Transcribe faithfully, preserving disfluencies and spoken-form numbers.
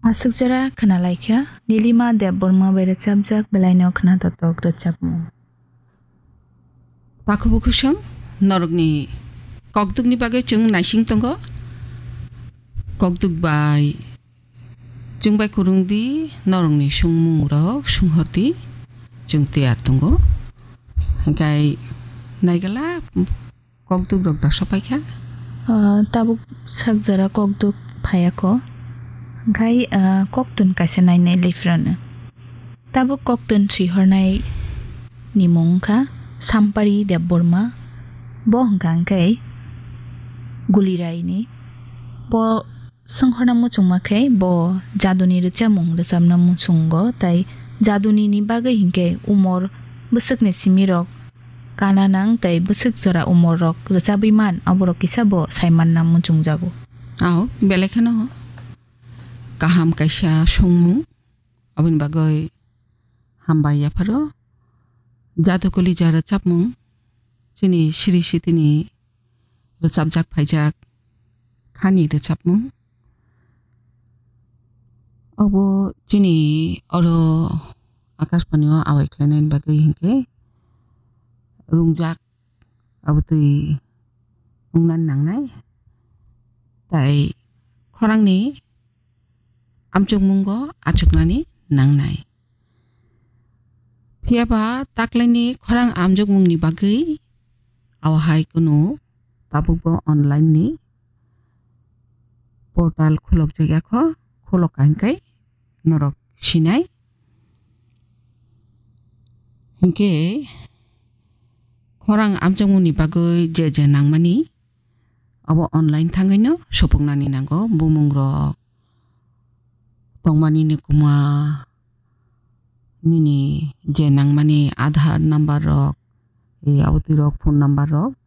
Aswk jora khwnalaikha Nilima Debbarma bai rwchapjak belaino khwnatotok rwchapmung. Takhuk bukhuk song norokni kokdukni bagwi chwng naising tongo. Kokduk bai chwng bai kwrwng di, norokni songmung rok sunghor di, chwng tiyar tongo. Hwnkhe naigala kokduk rok da sopaikha. Ah, tabuk sak jora kokduk phaiya kho. Hwnkhe, ah, koktun kaisa nainai liphrano. Tabuk koktun swihornai ni mung wngkha Sampari Debbarma. Bo hwnkha hwnkhe Gulirai ni. Bo Swnghorna muchungma khe bo jaduni rwchapmung rwchapna muchungo, tai jaduni ni bagwi hinkhe umor bwswkni simirok kana nang tai bwswk jora umor rok rwchabwi man, aborok kisa bo saimanna muchungjago. Ao, belai kheno kaham kaisa songmung, aboni bagwi hambai yapharo. Jadukuli ja rwchapmung, chini siri sitini rwchapjak phaijak khani rwchapmung. Obo chini oro Akashbani o awai khlainani bagwi hinkhe rungjak abotwi wngna nangnai. Tai khorangni amchukmungo achuknani nangnai. Phiya ba taklaini khorang amjokmungni bagwi awahai kunu tabukbo online ni portal khulokjak ya kho, khulok ka hinkai norok sinai. Hinkhe khorang amjokmungni bagwi je je nangmani abo online thangwi no supuknani nango, bumung rok, tongmani ni kuma, nini je nangmani Aadhaar number rok, e, abotwi rok phone number rok,